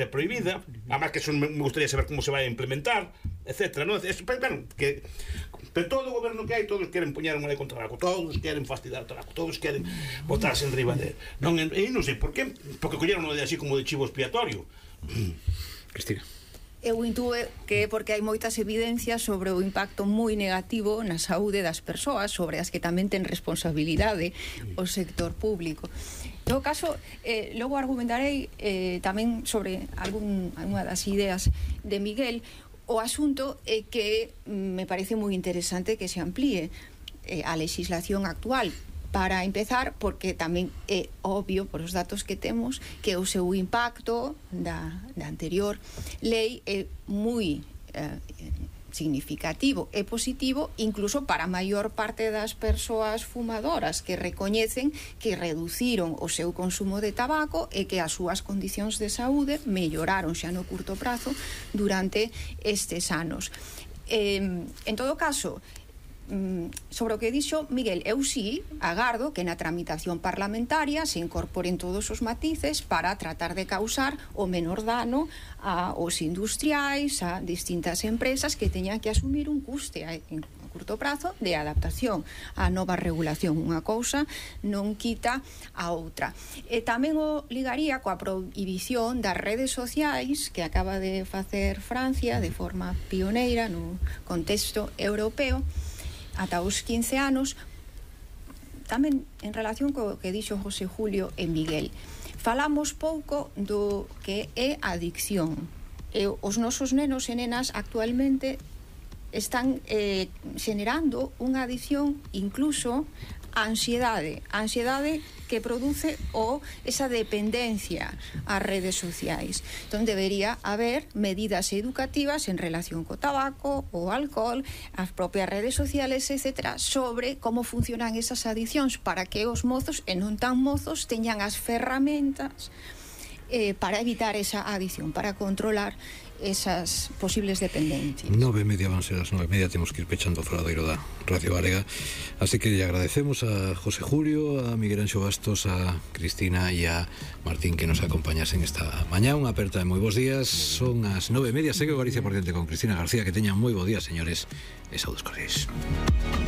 prohibida, además que eso me gustaría saber cómo se va a implementar, etcétera, ¿no? Bueno, que pero todo o goberno que hai, todos queren poñer unha lei contra o tabaco, todos queren fastidiar o tabaco, todos queren botarse en riba de non, e non sei por qué, porque colleron unha de así como de chivo expiatorio. Cristina. Eu intúe que é porque hai moitas evidencias sobre o impacto moi negativo na saúde das persoas, sobre as que tamén ten responsabilidade o sector público. En todo caso, logo argumentarei tamén sobre algunha das ideas de Miguel. O asunto é que me parece moi interesante que se amplíe a legislación actual. Para empezar, porque tamén é obvio, por os datos que temos, que o seu impacto da anterior lei é moi significativo e positivo, incluso para a maior parte das persoas fumadoras, que recoñecen que reduciron o seu consumo de tabaco e que as súas condicións de saúde melloraron xa no curto prazo durante estes anos. En todo caso, sobre o que dixo Miguel, eu sí agardo que na tramitación parlamentaria se incorporen todos os matices para tratar de causar o menor dano aos industriais, a distintas empresas que teñan que asumir un custe en curto prazo de adaptación á nova regulación. Unha cousa non quita a outra. E tamén o ligaría coa prohibición das redes sociais que acaba de facer Francia de forma pioneira no contexto europeo ata os 15 anos, tamén en relación co que dixo José Julio e Miguel. Falamos pouco do que é a adicción. Os nosos nenos e nenas actualmente están generando unha adicción incluso a ansiedade que produce esa dependencia ás redes sociais. Entón debería haber medidas educativas en relación co tabaco, o alcohol, as propias redes sociales, etc., sobre como funcionan esas adiccións para que os mozos e non tan mozos teñan as ferramentas para evitar esa adicción, para controlar esas posibles dependencias. 9:30 van ser as 9:30, temos que ir pechando o faladoiro da Radio Galega, así que lle agradecemos a José Julio, a Miguel Anxo Bastos, a Cristina e a Martín que nos acompañasen esta mañá. Unha aperta de moi bons días, son as 9:30, segue o Galicia por diante con Cristina García, que teñan moi bo día, señores, e saudos cordiais.